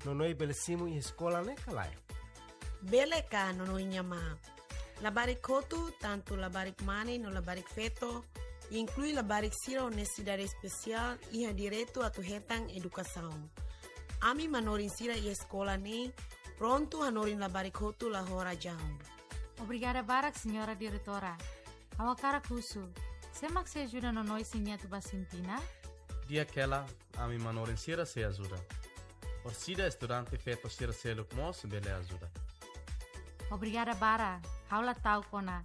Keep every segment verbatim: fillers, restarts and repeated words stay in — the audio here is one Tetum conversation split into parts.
Nonoin bele simu iha eskola ne'e ka lae? Bele ka, Nonoin nia ma. Labarik hotu, tantu labarik mane no labarik feto, inklui labarik sira ho nesesidade espesiál, iha direitu atu hetan edukasaun. Ami manorin sira iha eskola ne'e prontu hanorin labarik hotu la ho razaun. Obrigada barak, Señora Diretora. Ha'u hakarak husu, sé mak sei ajuda Nonoin se nia atu ba Sintina? Di'ak hela, ami manorin sira sei ajuda. Orsida estudante feto sira seluk mós bele ajuda. Obrigada barak, ha'u la ta'uk ona.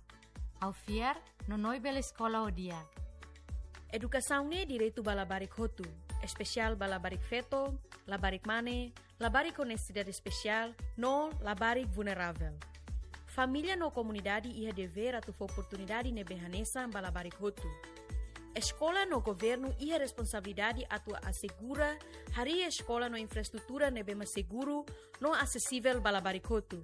Ha'u fiar, Nonoin bele eskola ho di'ak. Edukasaun ne'e direitu ba labarik hotu, espesiál ba labarik feto, labarik mane, labarik ho nesesidade espesiál, no labarik vulneravel. Família no komunidade iha devér atu fó oportunidade ne'ebé hanesan ba labarik hotu. Eskola no governu iha responsabilidade atu asegura harii eskola no infraestrutura ne'ebé mak seguru no asesivel ba labarik hotu.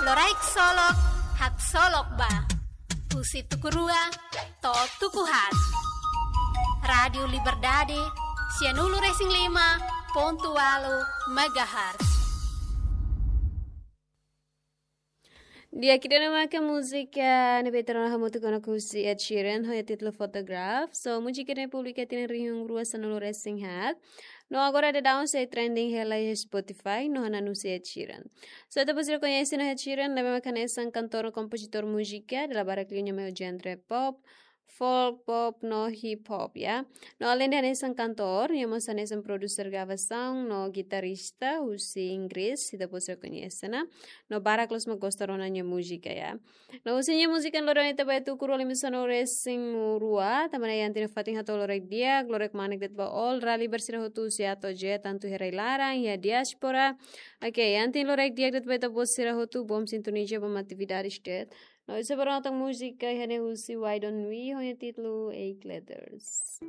Loraik solok, haksolok ba. Husi tuku rua to'o tuku haat. Rádio Liberdade, sianulu resin lima pontu ualu megahertz. Di'ak, ida-ne'e maka múzika ne'ebé ita rona hamutuk ona husi Ed Sheeran, ho títulu Photograph. So, múzika ne'e publika tinan rihun rua sanulu resin haat. No agora daudaun sei trending hela iha Spotify, no hanan husi Ed Sheeran. So, ita-boot sira koñese ona Ed Sheeran, ne'ebé maka hanesan kantór no kompozitór múzika, dala barak liu nia mai ho genre pop, folk, pop, no hip hop, ya. No aleinde hanesan kantór, nia mós hanesan produser gravasaun no gitarrista husi Inglés, ita-boot sira koñese ona. No barak loos mak gosta rona nia múzika, ya. No husi nia múzika loron ita bá tuku rua lima sanulu resin rua, tanba ne'e iha ita-nia fatin hato'o loraik di'ak, loraik manek de'it ba all ralibar sira hotu husi A to'o Z, tantu iha rai-laran, iha diáspora. Oke, iha ita-nia loraik di'ak de'it ba ita-boot sira hotu, bom sintoniza, bom atividades de'it. No ita sei bá rona tan múzika iha ne'e husi Why Don't We, ho nia títulu Eight Letters.